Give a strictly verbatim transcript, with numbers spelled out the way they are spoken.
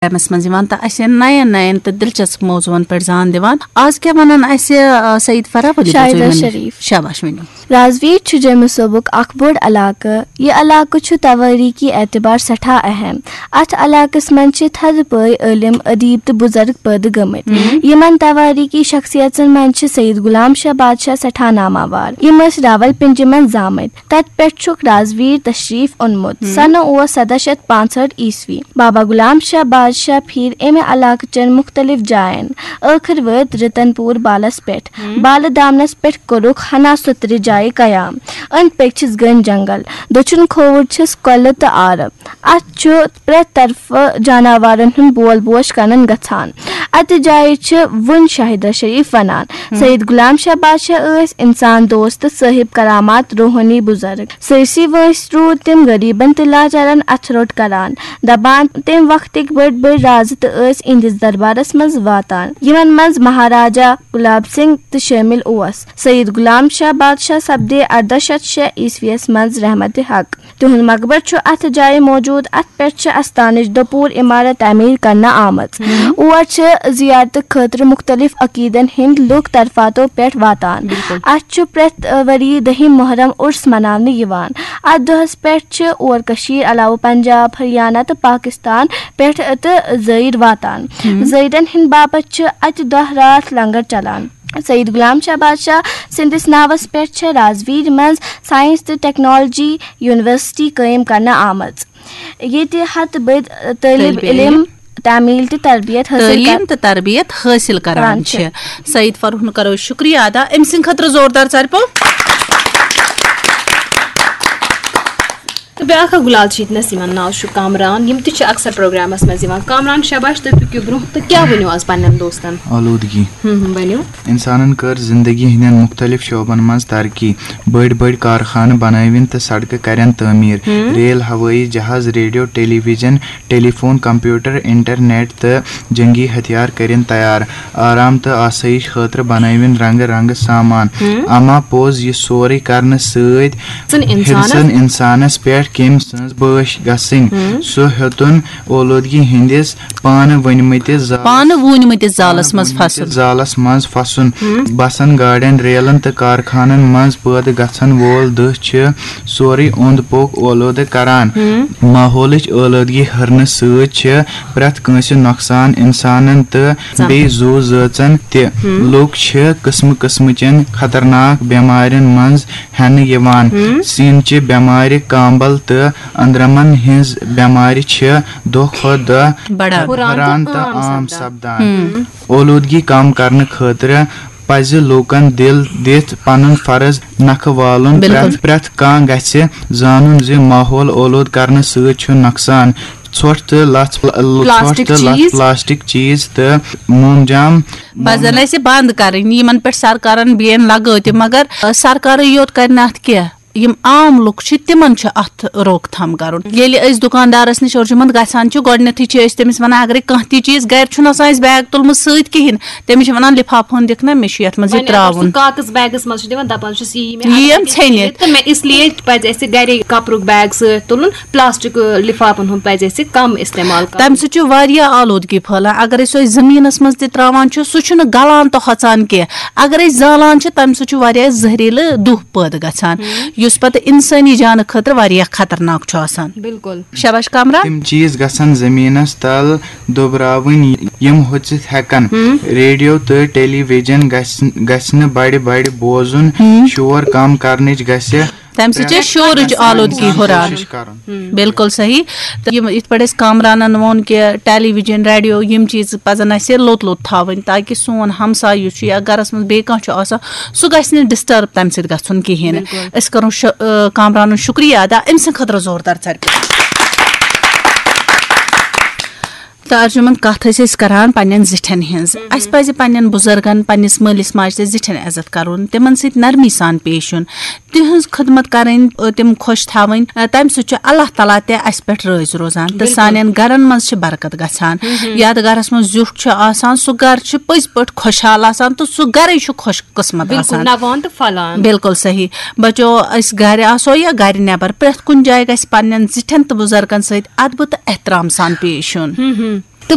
Programmes منٛز یِوان تہٕ اسہِ نین نین تہٕ دلچسپ موضوعن پٮ۪ٹھ زان دِوان۔ آز کیٛاہ ونان اسہِ، آ، سعید فرح؟ ؤلِو، شاہدہ بوزو یِمن۔ شریف۔ شاباش، ؤنِو۔ راجویر چھُ جوٚمہِ صوبُک اکھ بوٚڑ علاقہٕ۔ یہِ علاقہٕ چھُ توٲریٖخی اعتبار سٮ۪ٹھاہ اہم۔ اتھ علاقس منٛز چھِ تھدِ پٲے عٲلِم، ادیب تہٕ بُزرگ پٲدٕ گٔمٕتۍ۔ ہم۔ یِمن توٲریٖخی شخصیژن منٛز چھِ سید غلام شاہ بادشاہ سٮ۪ٹھاہ ناماوار۔ یِم ٲسۍ راولپنڈی منٛز زامٕتۍ۔ تتہِ پٮ۪ٹھ چھُکھ راجویر تشریف اوٚنمُت۔ ہم۔ سنہٕ اوس سداہ شیٚتھ پانٛژہٲٹھ عیسوی۔ بابا غلام شاہ بادشاہ پھیٖرۍ امہِ علاقہٕ چٮ۪ن مُختٔلِف جاین۔ ٲخٕر وٲتۍ رتن پوٗر بالس پٮ۪ٹھ۔ ہم۔ بالہٕ دامنس پٮ۪ٹھ کوٚرُکھ ہنا سترِ جایہِ قیام۔ أنٛدۍ پٔکۍ چھِس گٔنۍ جنگل۔ دٔچھُن کھووُر چھِس کۄلہٕ تہٕ آرٕ۔ اتھ چھُ پرٛٮ۪تھ طرفہٕ جاناوارن ہُنٛد بول بوش کنن گژھان۔ اتہِ جایہِ چھِ وُنہِ شاہدہ شریف ونان۔ ہم۔ سید غلام شاہ بادشاہ ٲسۍ انسان دوست تہٕ صٲحب کرامات روحٲنی بُزرگ۔ سٲرسٕے وٲنٛسہِ روٗدۍ تِم غریبن تہٕ لاچارن اتھٕ روٚٹ کران، دپان، تمہِ وقتٕکۍ بٔڑۍ بٔڑۍ رازٕ تہٕ ٲسۍ اِہنٛدِس دربارس منٛز واتان، یِمن منٛز مہاراجا گلاب سنگھ تہِ شٲمِل اوس۔ سید غلام شاہ بادشاہ سپدے ارداہ شیٚتھ شےٚ عیسویس منٛز رحمت حق۔ تِہُنٛد مقبر چھُ اتھ جایہِ موجود۔ اتھ پٮ۪ٹھ چھِ استانٕچ دُپوٗر عمارت تعمیٖر کرنہٕ آمٕژ۔ ہم۔ اور چھِ زیارتہٕ خٲطرٕ مُختٔلِف عقیٖدن ہٕنٛدۍ لوٗکھ طرفاتو پٮ۪ٹھ واتان۔ بِلکُل۔ اتھ چھُ پرٛٮ۪تھ، ٲ، ؤری دٔہِم محرم عُرس مناونہٕ یِوان۔ اتھ دۄہس پٮ۪ٹھ چھِ اور کٔشیٖر علاوٕ پنجاب، ہریانہ تہٕ پاکستان پٮ۪ٹھ تہٕ زٲیِر واتان۔ ہم۔ زٲیرن ہٕنٛدِ باپتھ چھِ اتہِ دۄہ راتھ لنگر چلان۔ سید غلام شاہ بادشاہ سٕنٛدِس ناوس پٮ۪ٹھ چھےٚ راجویرِ منٛز ساینس تہٕ ٹیکنالوجی یونیورسٹی قٲیِم کرنہٕ آمٕژ، ییٚتہِ ہتہٕ بٔدۍ طٲلب طٲلب علم علم تعمیٖل تہٕ تربیت حٲصِل تعلیٖم کر-، تہٕ تربیت حٲصِل کران کران چھِ۔ چھِ۔ سعید فرحُن کرو أسۍ شُکریہ ادا، أمۍ سٕنٛدِ خٲطرٕ زوردار ژَرِ پوٚو۔ تہٕ بیٛاکھ اکھ گُلال چھِ ییٚتہِ نَس، یِمن ناو چھُ کامران، یِم تہِ چھِ اکثر پروگرامس منٛز یِوان۔ کامران، شاباش، تُہۍ پٔکِو برٛونٛہہ تہٕ کیٛاہ ؤنِو آز پننٮ۪ن دوستن؟ آلودگی۔ ہم، ہم، ؤنِو۔ انسانن کٔر زندگی ہٕنٛدٮ۪ن مُختٔلِف شعبن منٛز ترقی، بٔڑۍ بٔڑۍ کارخانہٕ بنٲوِن تہٕ سڑکہٕ کرن تعمیٖر، ہم۔ ریل، ہوٲیی جہاز، ریڈیو، ٹیلی ویژن، ٹیلی فون، کمپیوٹر، انٹرنیٹ تہٕ جنگی ہتھیار کٔرِن تیار۔ آرام تہٕ آسٲیِش خٲطرٕ بنٲوِن رنگہٕ رنگہٕ سامان۔ ہم۔ اما پوٚز، یہِ سورُے کرنہٕ سۭتۍ ہیٚژٕن انسانس۔ ہیٚژٕن انسانس پٮ۪ٹھ کٔمۍ سٕنٛز بٲش گژھٕنۍ۔ ہم۔ سُہ ہیوٚتُن اولوٗدگی ہٕنٛدِس پانہٕ ؤنمٕتِس زالس، پانہٕ ووٗنمٕتِس زالس پانہٕ منٛز ووٗنمٕتِس پھسُن۔ زالس منٛز پھسُن۔ ہم۔ بسن، گاڑٮ۪ن، ریلن تہٕ کارخانن منٛز پٲدٕ گژھن وول دٕہ چھِ سورُے اوٚنٛد پوٚک اولوٗدٕ کران۔ ہم۔ ماحولٕچ اولوٗدگی ہُرنہٕ سۭتۍ چھِ پرٛٮ۪تھ کٲنٛسہِ نۄقصان، انسانن تہٕ سم-، بیٚیہِ زُو زٲژن تہِ۔ ہم۔ لوٗکھ چھِ قٕسمہٕ قٕسمہٕ چٮ۪ن خطرناک بٮ۪مارٮ۪ن منٛز ہٮ۪نہٕ یِوان۔ ہم۔ سیٖنہٕ چہِ بٮ۪مارِ، کانٛبل تہٕ أنٛدرمن ہٕنٛز بٮ۪مارِ چھِ دۄہ کھۄتہٕ دۄہ بڑان۔ ہُران تہٕ ہُران تہٕ عام عام سپدان۔ سپدان۔ ہم۔ اولوٗدگی کم کرنہٕ خٲطرٕ پزِ لوٗکن دِل دِتھ پنُن فرض نکھٕ والُن۔ بِلکُل۔ پرٛٮ۪تھ، پرٛٮ۪تھ کانٛہہ گژھِ زانُن زِ ماحول اولوٗدٕ کرنہٕ سۭتۍ چھُ نۄقصان۔ ژھۄٹھ تہٕ لژھ، ژھۄٹھ پلاسٹک تہٕ لژھ، چیٖز۔ پلاسٹک چیٖز تہٕ مومجام پزن اسہِ بند کرٕنۍ۔ یِمن پٮ۪ٹھ سرکارن بین لگٲو تہِ، مگر، آ، سرکارٕے یوت کرِ نہٕ اتھ کینٛہہ۔ یِم عام لُکھ چھِ، تِمن چھُ اتھ روک تھام کرُن۔ ییٚلہِ أسۍ دُکاندارس نِش اورٕ یِمن گژھان چھِ، گۄڈٕنیتھٕے چھِ أسۍ تٔمِس ونان، اگرے کانٛہہ تہِ چیٖز گرِ چھُنہٕ آسان اَسہِ بیگ تُلمُت سۭتۍ کِہینۍ، تٔمِس چھِ ونان، لفافہٕ ہن دِکھ نا، مےٚ چھُ یتھ منٛز یہِ وۄنۍ اگر سُہ تراوُن۔ کاغذ بیگس منٛز چھُ دِوان، دپان چھُس، یہِ یی مےٚ یی اگر أمۍ ژھیٚنہِ۔ ژھیٚنہِ، تہٕ مےٚ اس لیے پزِ اَسہِ گرے کپرُک بیگ سۭتۍ تُلُن، پلاسٹک، آ، لفافن ہُنٛد پزِ اَسہِ کم استعمال کرُن۔ تمہِ سۭتۍ چھُ واریاہ آلودگی پھٔہلان۔ اگر أسۍ سُہ زٔمیٖنَس منٛز تہِ ترٛاوان چھِ، سُہ چھُنہٕ گَلان تہٕ ہۄژان کینٛہہ۔ اگر أسۍ زالان چھِ، تمہِ سۭتۍ چھُ واریاہ زہریٖلہٕ دُہ پٲدٕ گژھان، ہم۔ یُس پتہٕ اِنسٲنی جانہٕ خٲطرٕ واریاہ خطرناک چھُ آسان۔ بِلکُل۔ شاباش کامران۔ تِم چیٖز گژھن زٔمیٖنَس تل دۄبراوٕنۍ، یِم ہۄژِتھ ہٮ۪کن۔ ہم۔ ریڈیو تہٕ ٹیلی ویژن گژھِ، گژھِ نہٕ بڑِ بڑِ بوزُن۔ ہم۔ شور کم کرنٕچ گژھِ تَمہِ سۭتۍ چھِ پرٛٮ۪تھ شورٕچ کانٛہہ آلودگی اِنسان ہُران۔ کوٗشِش کَرُن۔ ہم۔ بِلکُل صحیح۔ تہٕ یِم یِتھ پٲٹھۍ أسۍ کامرانَن ووٚن کہِ ٹیلی ویژن، ریڈیو، یِم چیٖز پَزَن اَسہِ لوٚت لوٚت تھاوٕنۍ، تاکہِ سون ہمساے یُس چھُ یا گَرَس منٛز بیٚیہِ کانٛہہ چھُ آسان، سُہ گژھِ نہٕ ڈِسٹٲرٕب تَمہِ سۭتۍ گژھُن کِہیٖنۍ۔ بِلکُل۔ أسۍ کَرو شُ-، آ، کامرانُن شُکریہ ادا، أمۍ سٕنٛدِ خٲطرٕ زوردار ژَرِ۔ تہٕ ارجُمن، کتھ ٲسۍ أسۍ کران پننٮ۪ن زِٹھٮ۪ن ہٕنٛز۔ ہم۔ اسہِ پزِ پننٮ۪ن بُزرگن، پننِس مٲلِس ماجہِ تہٕ زِٹھٮ۪ن عزت کرُن، تِمن سۭتۍ نرمی سان پیش یُن، تِہٕنٛز خدمت کرٕنۍ، تِم خۄش تھاوٕنۍ۔ تمہِ سۭتۍ چھُ اللہ تعالیٰ تہِ اسہِ پٮ۪ٹھ رٲضۍ روزان تہٕ بِلکُل۔ سانٮ۪ن گرن منٛز چھِ برکت گژھان۔ ہم۔ یتھ گرس منٛز زیُٹھ چھُ آسان، سُہ گرٕ چھُ پٔزۍ پٲٹھۍ خۄشحال آسان تہٕ سُہ گرے چھُ خۄش قٕسمت بِلکُل، آسان۔ نوان تہٕ پھۄلان۔ بِلکُل صحیح۔ بچو، أسۍ گرِ آسو یا گرِ نٮ۪بر، پرٛٮ۪تھ کُنہِ جایہِ گژھِ پننٮ۪ن زِٹھٮ۪ن تہٕ بُزرگن سۭتۍ ادبہٕ تہٕ احترام سان پیش یُن۔ ہم ہم۔